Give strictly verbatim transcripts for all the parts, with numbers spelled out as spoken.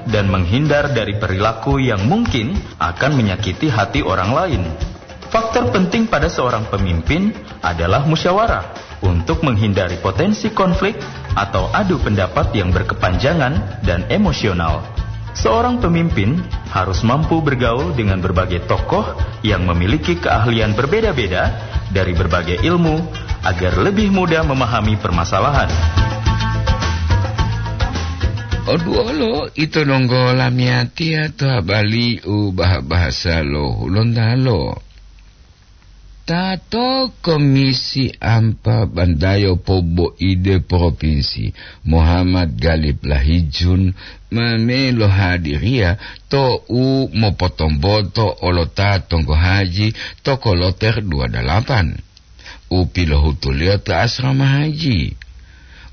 dan menghindar dari perilaku yang mungkin akan menyakiti hati orang lain. Faktor penting pada seorang pemimpin adalah musyawarah untuk menghindari potensi konflik atau adu pendapat yang berkepanjangan dan emosional. Seorang pemimpin harus mampu bergaul dengan berbagai tokoh yang memiliki keahlian berbeda-beda dari berbagai ilmu agar lebih mudah memahami permasalahan. Oduolo ito donggo lamiyatiya to habari u bah-bahasa lo Hulontalo. Tato Komisi Ampa Bandayo Poboide Propinsi, Muhammad Galib Lahijun, ma me lohadiriya to u mopotomboto olota tonggo haji to koloter dua dalapan u pilohutuliyo to asrama haji.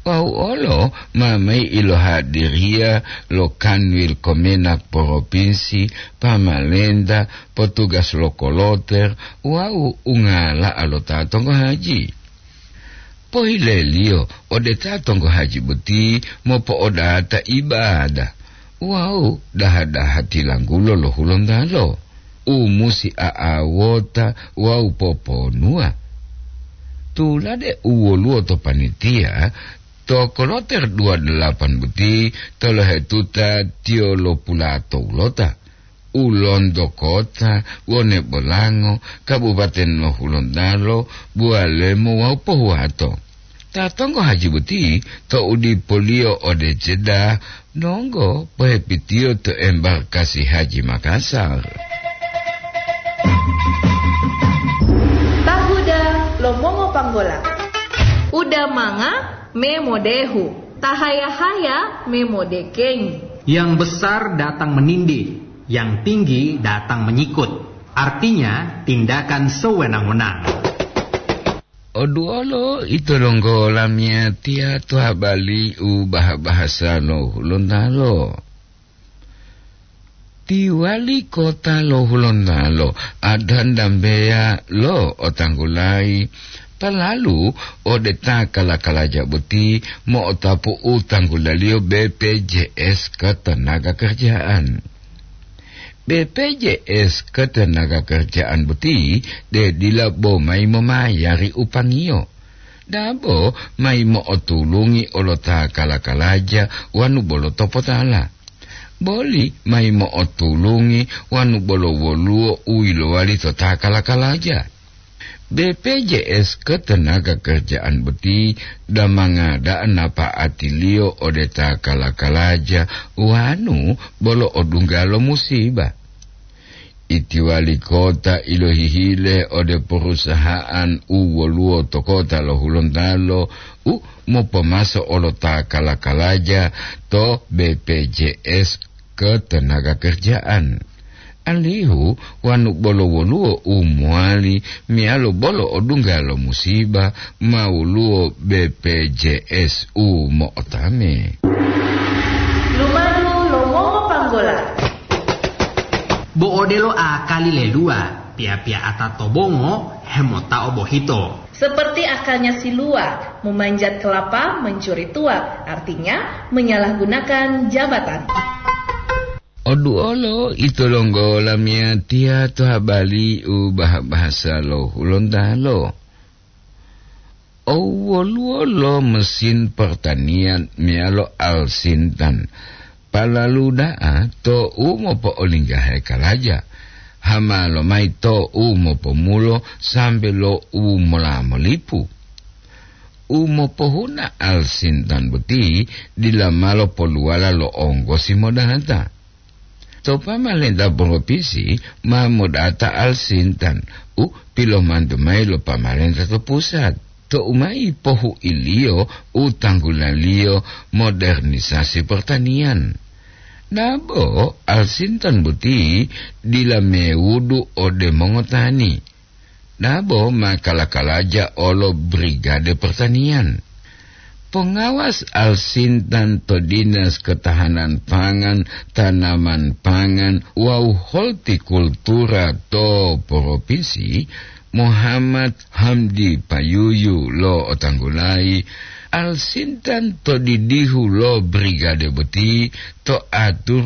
Wawu olo ma mayi ilohadiriya lo Kanwil Komenak Propinsi, pamalenta, potugas lo koloter wawu ungala'a lo ta tonggo haji. Pohileliyo ode ta tonggo haji boti mopo'odata ibada wawu daha-daha tilanggulo lo Hulontalo u musi a'awota wawu poponuwa. Tulade u woluwo to panitia, to koloter dua dalapan boti tolohetuta tiyo lo pulato ulota, u lonto kota, wone bolango, kabupaten lo Hulontalo, Buwalemo wawu Pohuwato. Ta tonggo haji boti tou dipoliyo ode Jeddah, donggo pohepitiyo to embarkasi haji Makassar. Tahuda lo mongo panggola. Uda manga me modehu, tahaya-haya me modekengi. Yang besar datang menindih, yang tinggi datang menyikut. Artinya, tindakan sewenang-wenang. Oduolo ito donggo lamiyatiya to habari u bah-bahasa lo Hulontalo. Ti wali kota lo Hulontalo Adhan Dambeya lo otanggulayi palalu ode ta kala-kalaja boti mo'otapu u tanggulaliyo B P J S Ketenaga Kerjaan. B P J S Ketenaga Kerjaan boti de dila bo mayi momayari upangiyo. Dabo mayi mo'otulungi olo ta kala-kalaja wanu bolo topotala. Boli mayi mo'otulungi wanu bolo woluwo u yilowali to ta kala-kalaja. B P J S Ketenaga Kerjaan boti damanga da'a napa'atiliyo ode ta kala-kalaja wanu bolo odungga lo musiba. Iti wali kota ilohihile ode perusahaan u woluwo to kota lo Hulontalo u mopomaso olo ta kala-kalaja to B P J S Ketenaga Kerjaan. Alihu wanu bolo woluwo u mowali meyalo bolo odungga lo musiba, ma woluwo B P J S u mo'otame. Lumadu lo mongo panggola. Bo odelo akali leluwa, piya-piya'ata to bongo hemotao bohito. Seperti akalnya si luwa, memanjat kelapa mencuri tuak, artinya menyalahgunakan jabatan. Oduolo ito donggo lamiyatiya to habari u bah-bahasa lo Hulontalo. Owoluwo lo mesin pertanian meyalo alsintan palalu da'a to u mopo'olinggahe kalaja, hama lomayi to u mopomulo sambe lo u mola molipu. U mopohuna alsintan boti dila malo poluwala lo onggosi modata. To pamalenta propinsi ma modata alsintan u pilomantu mayi lo pamalenta to pusat, tou mayi pohuiliyo u tanggulaliyo modernisasi pertanian. Dabo alsintan boti dila mewudu ode mongotani. Dabo ma kala-kalaja olo Brigade Pertanian. Pengawas alsintan to Dinas Ketahanan Pangan, Tanaman Pangan, wawu Hortikultura to Propinsi, Muhammad Hamdi Payuyu lo otanggulayi, alsintan to didihu lo brigade boti to aturu